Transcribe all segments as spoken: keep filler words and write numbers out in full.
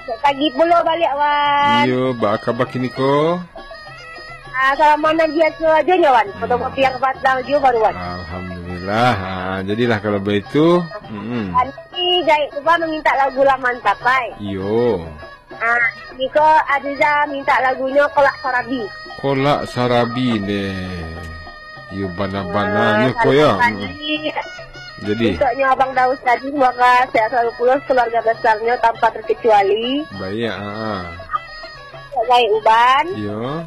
Pagi pulo baliak, Wan. Iyo, baa kaba kini ko? Ah, salamo nan biaso ajo nyo, Wan. Fotokopi nan patang juo baru, Wan. Alhamdulillah. Ah, jadilah kalau baitu. Mm-mm. Nanti Jahit Uban mamintak lagu Lah Mantap, ai. Iyo. Ah, niko Aziza mintak lagunyo Kolak Sarabi. Kolak Sarabi ne. Iyo, bana-bananyo ko yo. Jadi, untuknyo Abang Daus tadi, semoga sehat selalu pulo keluarga besarnyo tanpa terkecuali. Baiak, ha. Untuak Jahit Uban. Iyo.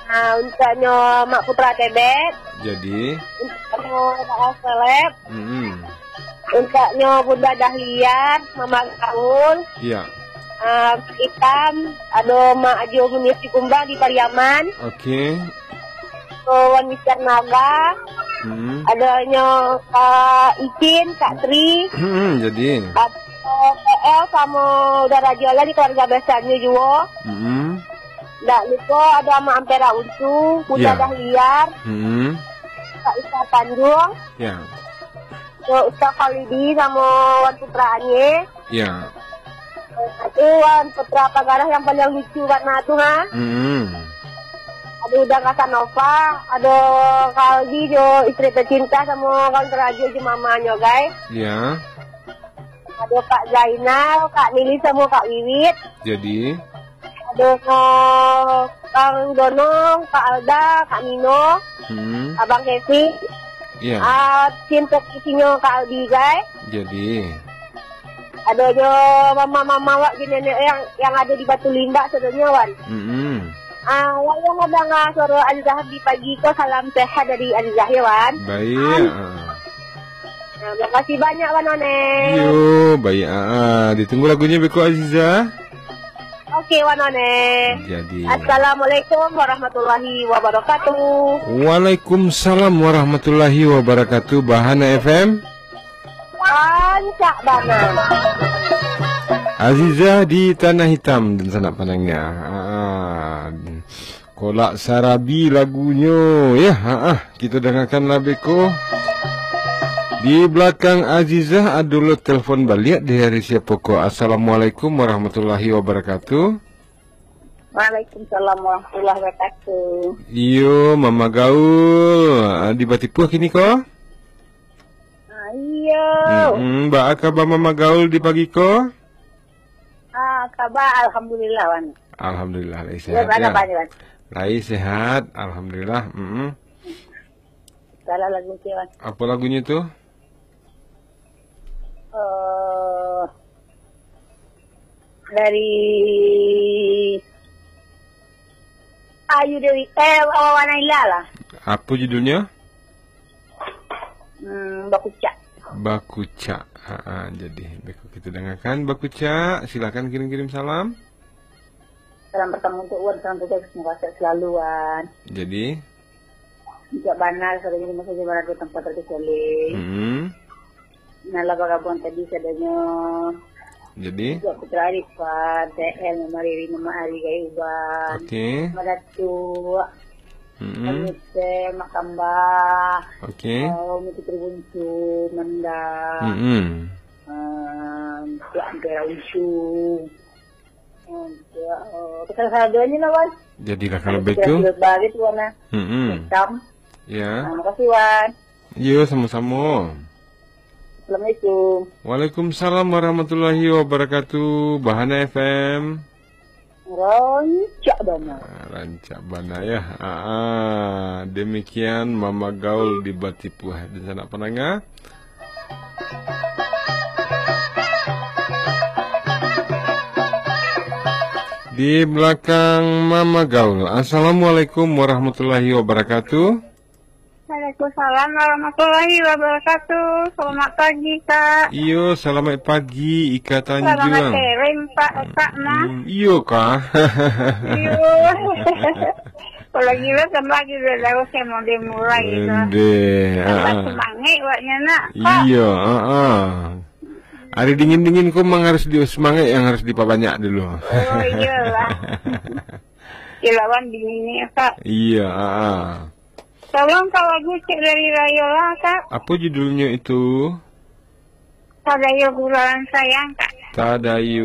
Ah, untuknyo Mak Putra Tebet. Jadi. Untuknyo Mak Seleb. Mm-mm. Untuknyo Bunda Dahlia, Mama Gaul. Iya. Ah, Itam, ado Mak Ajo Munis di Kumbang di Pariaman. Oke. Wan Mister Naga. Hmm. Adonyo Kak Icin, Kak Tri. Hmm, jadi. Ado P L samo Uda Rajo lah di keluarga besarnyo juo. Hmm. Ndak lupo ado Amak Ampera Untu, Bunda Dahlia. Hmm. Kak Isa Tanjung. Ya. Ado Ustaz Khalidi samo Wan Putra Anie. Ya. Itu Wan Putra Pagarah yang paling lucu bana tu, ha. Hmm. Ado Uda Kasanova, ado Kak Aldi jo istri tercinta samo Wan Rajo jo mamanyo, guys. Ya. Ado Kak Zainal, Kak Nili samo Kak Wiwit. Jadi. Ado Kang Dono, Kak Alda, Kak Nino, hmm, Abang Kevin. Iya. Ah, tim produksinya Kak Aldi, guys. Jadi. Ado jo mama-mama wak jo nenek yang, yang ado di Batu Limbak sadonyo, Wan. Mm-mm. Ah, wayang mandanga suara Azizah di pagi ko, salam sehat dari Azizah, ya, Wan. Baik. Am. Ah. Nah, makasih banyak, Wan One. Yo, baik. Ah, ah. Ditunggu lagunya beko, Aziza. Oke, Wan One. Jadi. Assalamualaikum warahmatullahi wabarakatuh. Waalaikumsalam warahmatullahi wabarakatuh. Bahana F M. Rancak bana. Aziza di Tanah Hitam dan sanak pandangar. Ah, kolak sarabi lagunyo, ya. Ha, ah, kita dengarkan lah beko. Di belakang Azizah ado lo telepon baliak dari siapa ko? Assalamualaikum warahmatullahi wabarakatuh. Waalaikumsalam warahmatullahi wabarakatuh. Iyo, Mama Gaul, ah, di Batipuah kini ko? Ah, iyo. Mm-mm, baa kaba Mama Gaul di pagi ko? Ah, kaba alhamdulillah, Wan. Alhamdulillah, lai sehat, ya. Lai sehat, alhamdulillah. Mm-mm. Salah lagu, Wan. Apa lagunyo tu? Eh, dari Ayu Dewi, eh, Wawan Naila lah. Apa judulnya? Hmm, Bakucak. Bakucak. Ha, ha, jadi, beko kita dengarkan Bakucak. Silakan kirim-kirim salam. Salam pertama untuk Wan, salam tugas, semoga sehat selalu, Wan. Jadi? Tidak bana, sadonyo di masa jaman ado tanpa terkecuali. Hmm. Nan lah bagabuang tadi sadonyo. Jadi? Tidak Putra Arifan, T L, Mama Riri, Mama Ari, Gai Uban. Oke. Mama Datuk. Hmm. Mama Yusef, Mak Kambah. Oke. Oh, Miki Tribuntu, Menda. Hmm. Ah, Tuan Tera Unsung. Untuk, eh, pesan saduanyo lah, Wan. Jadilah kalau begitu. Bagi tu, Wan, ah. Mm-mm. Hitam. Ya. Ah, makasih, Wan. Yo, samo-samo. Assalamualaikum. Waalaikumsalam warahmatullahi wabarakatuh. Bahana F M. Rancak bana. Ah, rancak bana, ya. Ah, ah. Demikian Mama Gaul di Batipuah. Dan sanak pandangar. Di belakang Mama Gaul. Assalamualaikum warahmatullahi wabarakatuh. Waalaikumsalam warahmatullahi wabarakatuh. Selamat pagi, Kak. Iyo, selamat pagi, Ika Tanjuang. Selamat sharing, Pak, Kak, mah. Hmm, iyo, Kak. Iyo. Kalau gila, tambah gila, dah usah mau dia murah gitu. Ndeh, tambah, ah, semangat awaknya, nak, Kak. Iyo, ah, ah. Hari dingin-dingin ko memang harus di, semangat yang harus diperbanyak dulu. Oh, iyalah. Ilawan dinginnya, Kak. Iya, ah, ah. Tolong, Kak, lagu Cik dari Rayola, Kak. Apa judulnya itu? Tadayo Gurauan Sayang, Kak. Tadayo